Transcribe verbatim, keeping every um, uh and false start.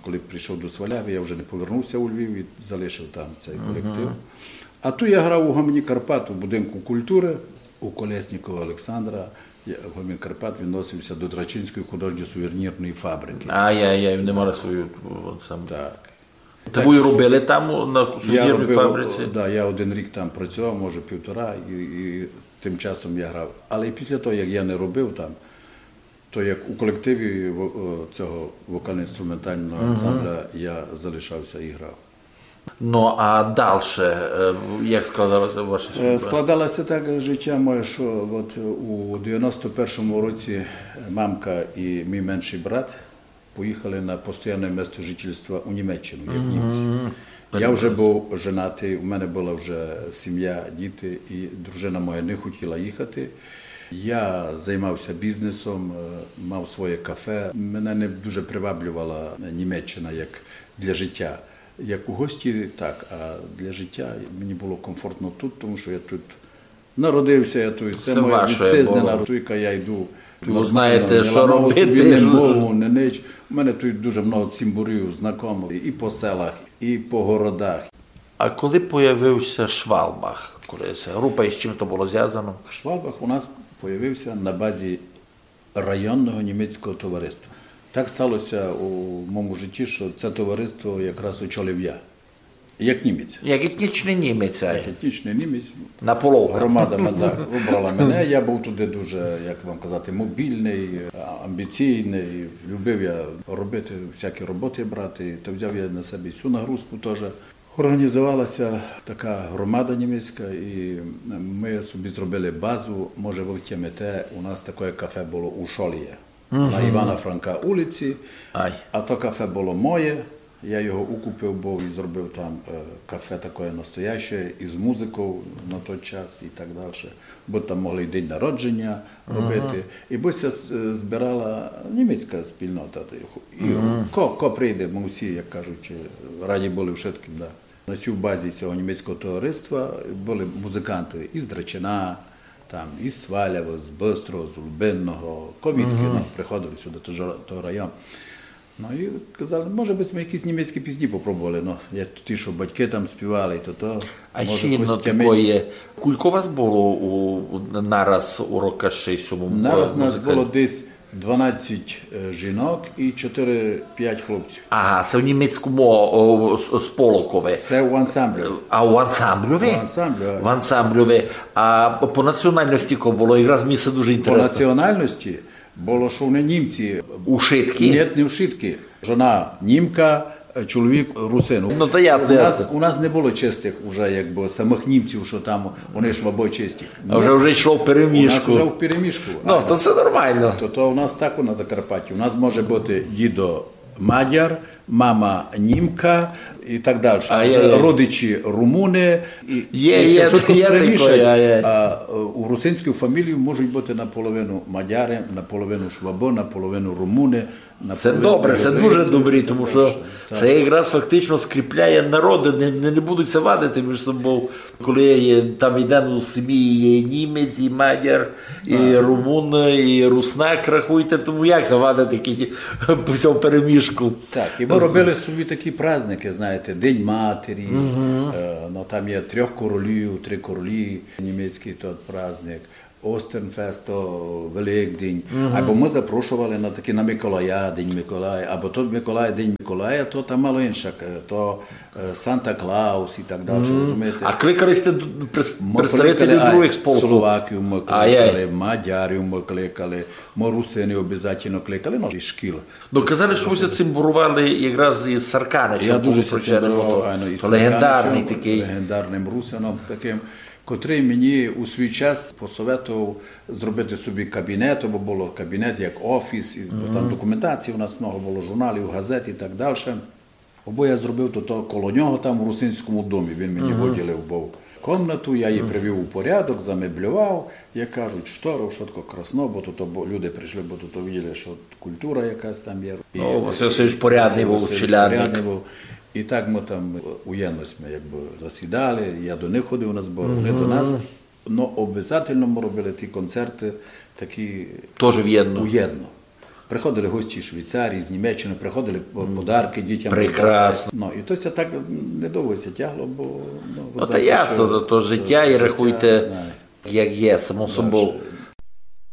Коли прийшов до Свалявы, я вже не повернувся у Львів і залишив там цей колектив. А тут я грав у Гомені Карпат у будинку культуры у Колєснікова Олександра. Я- Гомін Карпат відносився до Драчинської художньо-сувенірної фабрики. Ай-яй-яй, вони мали свою, о, сам. Так. Та вы робили там, на Я сувенірній робив, фабриці? Да, я один рік там працював, може півтора, і, і тим часом я грав. Але і після того, як я не робив там, то як у колективі во- о, цього вокально-інструментального ансамбля я залишався і грав. Ну, а дальше, е, як складалася ваша Е, судьба? Складалося так життя моє, що от у девяносто першому році мамка і мій менший брат поїхали на постійне місто жительства у Німеччину, як німці. Я вже був женатий, у мене була вже сім'я, діти, і дружина моя не хотіла їхати. Я займався бізнесом, е, мав своє кафе. Мене не дуже приваблювала Німеччина як для життя. Як у гості, так, а для життя мені було комфортно тут, тому що я тут народився, я тут, це, Це моя ваше вітчизна було. Народка, я йду. Ви нормально, знаєте, не що ламав робити, собі, не що- мову, не ніч. У мене тут дуже много цімборів, знайомих і по селах, і по городах. А коли появився Schwalbach? Коли ця група, і з чим то було зв'язано? Schwalbach у нас появився на базі районного німецького товариства. Так сталося у моєму житті, що це товариство якраз очолив я. Як німець. Як етнічний німець, ай. Як етнічний німець. На половках. Громада мене вибрала мене. Я був туди дуже, як вам казати, мобільний, амбіційний. Любив я робити, всякі роботи брати. Та взяв я на себе і цю нагрузку теж. Організувалася така громада німецька, і ми собі зробили базу. Може, ви втямите, у нас таке кафе було у Шолі, на Івана Франка улиці. Ай. А то кафе було моє. Я його укупив був і зробив там е, кафе таке настояще, із музикою на той час і так далі. Бо там могли й день народження робити. І бо ся з- е, збирала німецька спільнота. І ко, ко прийде, ми всі, як кажуть, е, раді були вшыткым. Да. На сій базі цього німецького товариства були музиканти із Драчина, там, із Свалявы, з Быстрого, з Лубинного, ковідки, ну, приходили сюди, тож, то район. Ну і казали, може би ми якісь німецькі пісні попробували. Ну, як ті, що батьки там співали, то то. А може, ще єдно якось тямить. Такоє. Кулько вас було у, у, нараз у рокаши сьому? Нараз нас музикальні? Було десь дванадцять е, жінок і чотири-п'ять хлопців. Ага, це в німецькому о, с- сполокове. Це у ансамблі. А у ансамбльові? У ансамблі, а. В ансамбльові. А по національності кого було? Якраз мені це дуже По інтересно. Національності було, що вони німці. У шитки? Ні, не в шитки. Жона німка, е, чоловік русин. Ну, то ясно, у нас, ясно. У нас не було чистих уже, якби, самих німців, що там вони швабо чисті. А вже, вже йшло в У нас перемішку. Вже в перемішку. Ну, то це нормально. То, то у нас так у на Закарпатті. У нас може бути дідо мадяр, мама німка і так далі. А, є, є. Родичі румуни. І, Є, і є, що тут є перемішать, таке, є, є. А е, у русинській фамілії можуть бути наполовину мадяри, наполовину швабо, наполовину румуни. Це добре, це дуже добре, тому що це якраз фактично скріпляє народи, не, не, не будуть ся вадити між собою. Коли є, там іде у сім'ї є і німець, і мадяр, і румун, і руснак, рахуйте, тому як ся вадити, які по всьому перемішку? Так, і ми робили собі такі праздники, знаєте, День матері, е, ну, там є трьох королів, три королі, німецький тот праздник, Остернфест, то Великдень. Або ми запрошували на такі на Миколая, День Миколая, або то Миколай, День Миколая, то там мало інше, то е, Санта Клаус і так далі, розумієте? А кликали сте д- прес- Ми представителів кликали, других ай, сполків? Словаків ми Ай, ай. Кликали, мадярів ми кликали, ми русини обов'язково кликали, ну, і шкіл. Ну, казали, що ви ся цимбурували якраз із Сарканичем. Я дуже Тому ся що це цимбурував, було айно, із легендарний Сарканичем, такий. Легендарним русином таким, котрий мені у свій час посоветував зробити собі кабінет, бо було кабінет як офіс, і, бо там документації у нас много було, журналів, газет і так далі. Бо я зробив то, то коло нього там у Русинському домі, він мені виділив був комнату, я її привів у порядок, замеблював, як кажуть, штору, що таке красно, бо тут бо люди прийшли, бо тут виділи, що культура якась там є. І Ну, Василь Васильович порядний Василь був, Васильович челядник. Порядний був. І так ми там уєдно сьме якби засідали, я до них ходив на збори, вони до нас. Ну, обов'язково ми робили ті концерти такі Тоже вєдно. Уєдно. Приходили гості з Швейцарії, з Німеччини, приходили по- М. подарки дітям. Прекрасно. Ну, і то ся так недовго ся тягло, бо ну, ви Ну, та знаєте, ясно, що то, то життя, і життя, рахуйте, да. Як є, само собою.